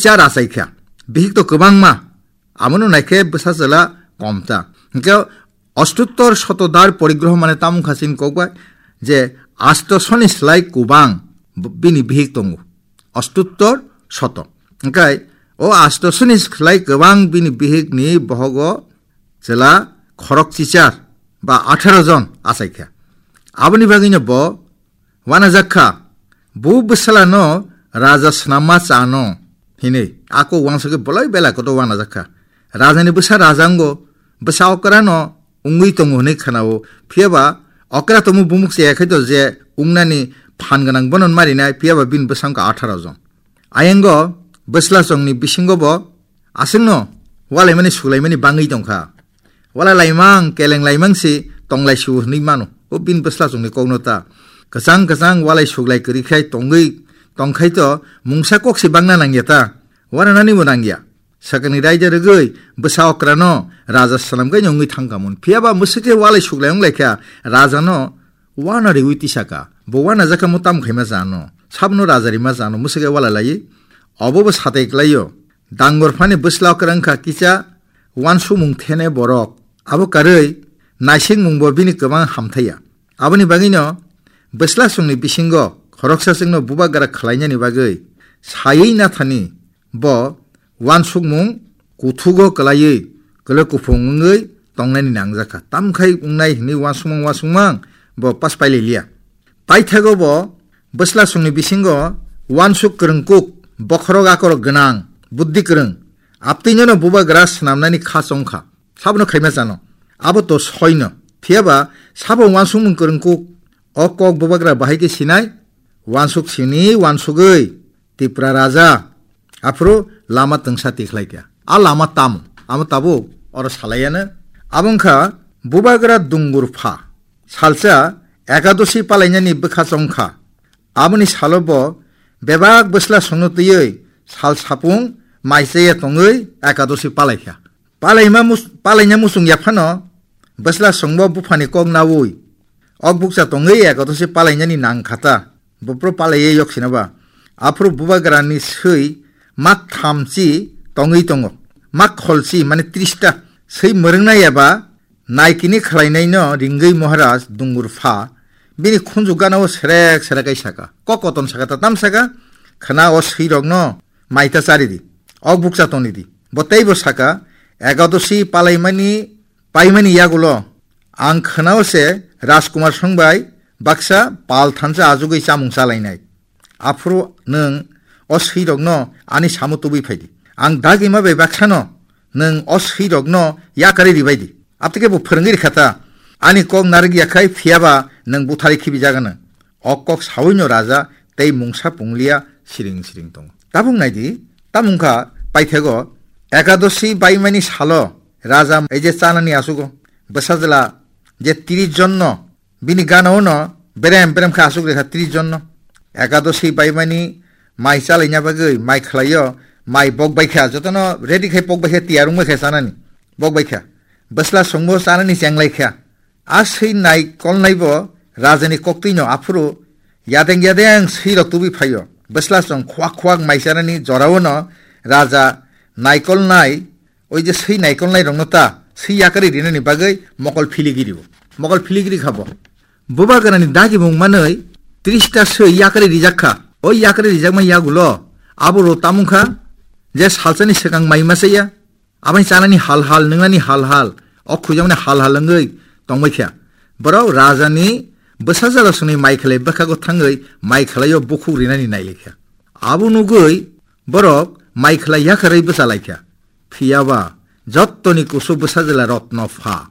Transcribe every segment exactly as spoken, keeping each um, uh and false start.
char achai kha. Bihik to kwbangma, abono naikhe bwsa chwla kom ta. Hwnkhe ostuttor sotodar porigroho mane tamo wngkha chini kok bai je asto soni slai kwbang b-, bini bihik tongo. Ostuttor soto. Hwnkhe o asto soni slai kwbang bini bihikni bohogo chwla khorok chichar ba atharo jon achai kha. Aboni bagwino bo wanajak kha, bo bwsala no raja swnamma chano hinwi. Ako wansugwi bolai belai kotor wanajak kha. Rajani bwsa raja wngo, bwsa okra no wngwi tongo hinwi khwnao. Phiya ba okra tongmo bumuk chaya khai to je wngnani phan gwnang bono marinai, phiya ba bini bwsa wngkha atharo jon. Ayango bwsla chongni bisingo bo aswkno walaimani suglaimani bangwi tongkha. Walai laimang, keleng laimang si tonglai su hinwi mano. O bini bwsla chongni kokno ta. Kwchang kwchang walai suglai kwrwi khai tongwi tongkhai to mungsa kok si bangna nangya ta. Waranani bo nangya. Sakani raida rwgwi bwsa okrano raja swnamgwi wngwi thangkha mun. Phiya ba mwswkhe walai suglai wng laikha, rajano wana riwi tisaka. Bo wana jakha mo tam khaima jano. Sabno raja rima jano mwswkhe walai laiwi. Obo bo satai klaio. Dangor phani bwsla okra wngkha kisa wansukmung thene borok. Abo karwi naisingmung bo bini kwbang hamthaiya. Aboni bagwino bwsla chwngni bisingo khoroksa chwngno bubagra khlainani bagwi saywi nathani bo wansukmung kuthugo kwlaiwi kwlwi kuphung wngwi tongnani nangjakha. Tamkhai wngnai hwnwi wansukmang wansukmang bo pas paililiya. Paithago bo bwsla chwngni bisingo wansuk kwrwngkuk, bokhorok akorok gwnang, buddhi kwrwng, aptwinono bubagra swnamnani kha chongkha. Sabono khaima chano. Abo to soino. Phiya ba sabo wansukmung kwrwngkuk, o kok bubagra bahai khe sinai, wansuk sini wansugwi Tipra raja, aphuru lama twngsa tikhlai kha. A lama tamo? Amo tabuk oro salaiya no. Abo wngkha bubagra dungur pha. Salsa ekadosi palainani bwkha chongkha. Aboni salo bo bebak bwsla songno twiwi sal sapung mai chaya tongwi ekadosi palai kha. Palaima mus-, palaina muchung yaphano bwsla songbo buphani kok naui, ok bukcha tongwi ekadosi palainani nang khata. Buphuru palaiwi yoksina ba. Aphuru bubagrani swi mak thamchi tongwi tongo. Mak kholchi mane trista. Swi mwrwngna yaba naikini khlainaino ringwi Maharaj dungur pha. Bini khunju ganao serek serek ai saka. Kok koton saka ta tam saka. Khna o swirokno maita chari di. Ok bukcha toni di. Bo teibo saka, ekadosi palaimani, paimani yagulo ang khwnao se Rajkumar songbai baksa pal thansa ajugwi chamung chalainai. Aphuru nwng o swirokno ani samo tubui phai di. Ang dagima bai baksano nwng o swirokno yakarwi ribai di. Aptike bo phwrwngwi rikha ta. Ani kok narwk ya khai phiya ba nwng butharwi khibi jagano. O kok sawino raja tei mungsa pungliya siring siring tongo. Tabuk nai di, tamo wngkha paithego ekadosi baimani salo raja ei je chanani asugo bwsajla je tris jonno bini gana ono berem berem khe asuk rekha tris jonno. Ekadosi baimani mai chalaina bagwi mai khlaio, mai bok bai kha, jotono ready khai pok bai kha, tiyar wng bai kha chanani, bok bai kha. Bwsla songbo chanani chenglai kha. A swi nai kolnai bo rajani koktwino aphuru yadeng yadeng swirok tubui phaio. Bwsla chwng khuak khuak mai chanani joraono raja naikolnai, oi je swi naikolnai rokno ta swi yakarwi rinani bagwi mokol philigi rio. Mokol philigi ri kha bo. Bubagrani dagimung manwi trista swi yakarwi rijak kha. O yakarwi rijakma yagulo aboro tamung kha je salsani swkang mai masa ya. Aboni chanani hal hal, nwngnani hal hal, o khuijakmani hal hal wngwi tongbai kha. Borok rajani bwsajala songni mai khlai bwkhago thangwi mai khlaio bukhuk rinani nai lai kha. Abo nugwi borok mai khlai yakarwi bwcha lai kha. Phiya ba jottoni kusu bwsajala rotno pha.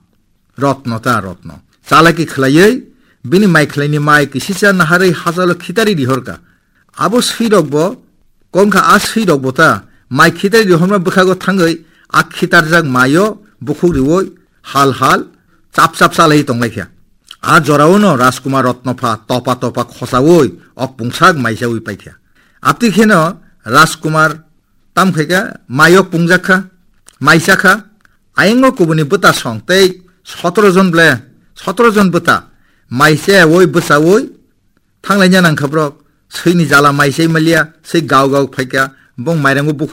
Rotno ta rotno. Chalaki khlaiwi bini mai khlaini mai kisisa naharwi hachalo khitari rihor kha. Abo swirok bo kongkha a swirok bo ta mai khitari rihorma bwkhago thangwi a khitarjak maio bukhuk riwi hal hal chap chap chalai tonglaikha. A joraono Rajkumar Rotnopha topa topa khosaui ok pungsak maisaui paikha. Apti kheno Rajkumar tam khaikha, maio pungjak kha, mai chakha, ayango kubuni bwta song tei sotoro jon ble, sotoro jon bwta mai chaui bwchaui thanglaina nangkha borok. Swini jala mai chai maliya, swi gau gau phaikha, bong mairango bukhuk